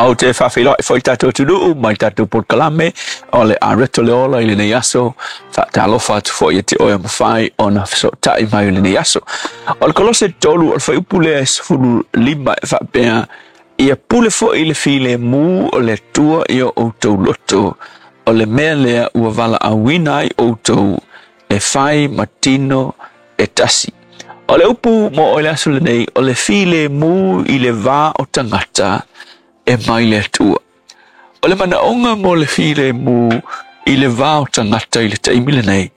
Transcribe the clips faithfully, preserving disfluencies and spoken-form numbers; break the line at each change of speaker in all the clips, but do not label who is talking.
Ou te faafeiloai foi tatou atunuu mai tatou polokalame o le Areto le Ola i lenei aso. Faatalofa atu foi ia te oe ua mafai ona fesootai mai i lenei aso. O le Kolose tolu o le fuaiupu lea e sefulu lima e faapea, ia pule foi le filemu o le Atua i o outou loto, o le mea lea ua valaauina ai outou e fai ma tino e tasi. O le upu mo oe le aso lenei, o le filemu i le va o tagata e mai le Atua. O le manaoga mo le filemu i le va o tagata i le taimi lenei,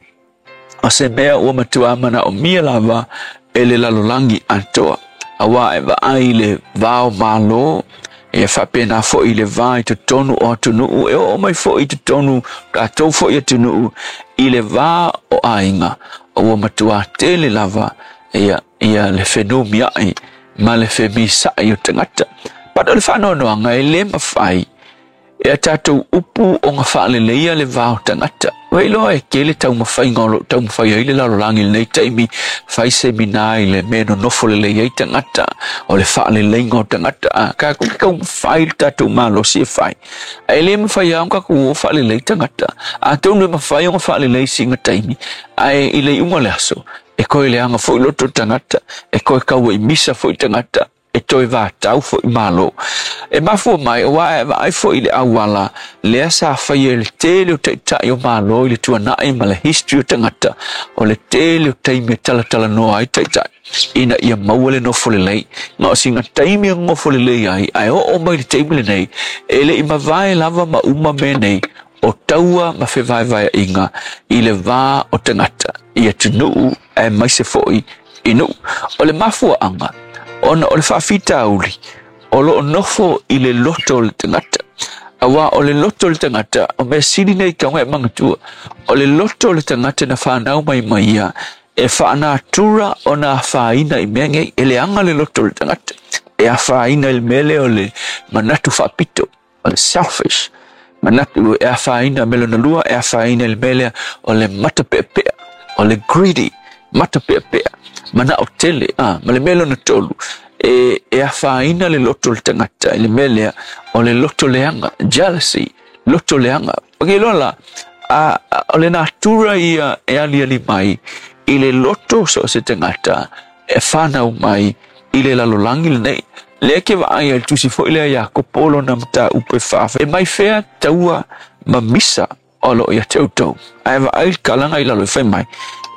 o se mea ua matua manaomia lava e le lalolagi atoa. Auā e vaai i le va o Malo, e faapena foi i le va i totonu o atunuu, e oo mai foi i totonu tatou foi atunuu i le va o aiga, ua matua tele lava ia, ia le fenumiai ma le femisa'i o tagata. But o le faanoanoaga e le mafai e a tatou upu ona faaleleia le va o tagata. Ua iloa e tele taumafaiga o loo taumafai ai le lalolagi i lenei taimi, fai semina i le mea nonofo lelei ai tagata, o le faaleleiga o tagata. A tatou taumafai le tatou malosi e fai, ae le mafai lava ona tatou o faalelei tagata. Atonu e mafai ona faalelei sina taimi, ae i le iuga o le aso e toe leaga foi loto tagata, e toe tauaimisa foi tagata, e toe vatau foi Malo. E mafua mai, auā e vaai foi i le auala lea sa faia e le tele o taitai o Malo i le tuanai ma le history o tagata, o le tele o taimi e talatalanoa ai taitai ina ia maua le nofo lelei. Ma o sina taimi e nofo lelei ai, ae oo mai le taimi lenei, e le i mavae lava ma uma mea nei o taua ma fevaevaeaiga i le va o tagata i atunuu aemaise foi i nuu. O le mafuaaga, ona o le faafitauli o loo nofo i le loto o le tagata. Auā o le loto o le tagata, o mea sili nei tauga e manatua, o le loto o le tagata na fanau mai ma ia, e faanatura ona afaina i mea nei, e leaga le loto o le tagata. E afaina i le mea lea o le manatu faapito, o le selfish manatu e afaina. Me lona lua, e afaina i le mea lea o le matapeapea, o le greedy, matapeapea, manao tele. A ma le mea lona tolu, e, e afaina le loto o le tagata i le mea lea o le loto leaga, jealousy, loto leaga. O ke loa la, a, a, o le natura ia e aliali mai i le loto so o se tagata e whanau mai i le lalolagi lenei. Lea ke vaai ai le tusi foi lea Iakopo lona mataupu e fa, e mai fea taua ma misa o loo ia te outou? Ae vaai le kalaga i lalo e fai mai,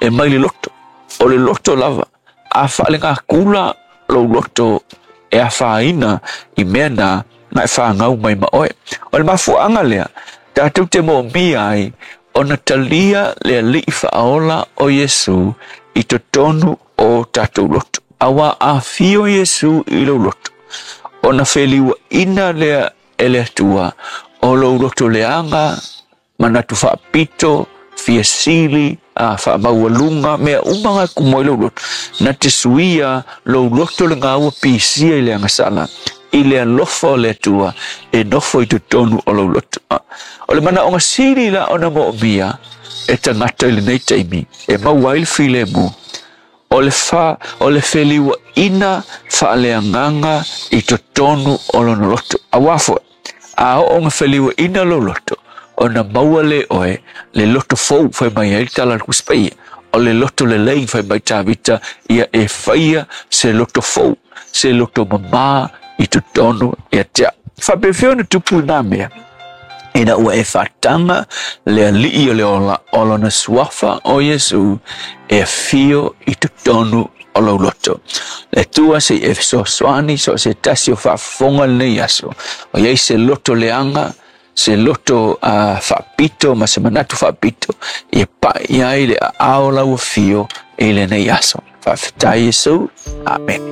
e mai le loto. O le loto lava, a faalegakula lou loto e afaina i mea na na e whāngau mai ma oe. O le mafuaaga lea, tatou te moomia ai ona talia le Alii faaola o Iesu i totonu o tatou loto. Auā afio Iesu i lou loto, ona feliuaina lea e le Atua o lou loto leaga, manatu faapito, fia sili, a faamaualuga, mea uma ga tumu ai lou loto. Na te suia lou loto lena ua pisia i le agasala i le alofa o le Atua e nofo i totonu o lou loto. O le manaoga sili la ona moomia e tagata i lenei taimi e maua ai le filemu, o le fa o le feliuaina faaleagaga i totonu o lona loto. Auā foi a oo ona feliuaina lou loto, ona maua le oe le loto fou, fai mai ai le tala a le Tusi Paia. O le loto lelei, fai mai Tavita, ia e faia se loto fou, se loto mamā i totonu ia te au. Faapefea ona tupu lena mea? Ina ua e faataga le Alii o le ola o lona suafa o Iesu e afio i totonu o lou loto. Le Atua se i e fesoasoani so o se tasi o faafofoga lenei aso. O i ai se loto leaga, se loto uh, faapito ma se manatu faapito, ia pai ai le aao lau afio i lenei aso. Faafetai Iesu. Amen.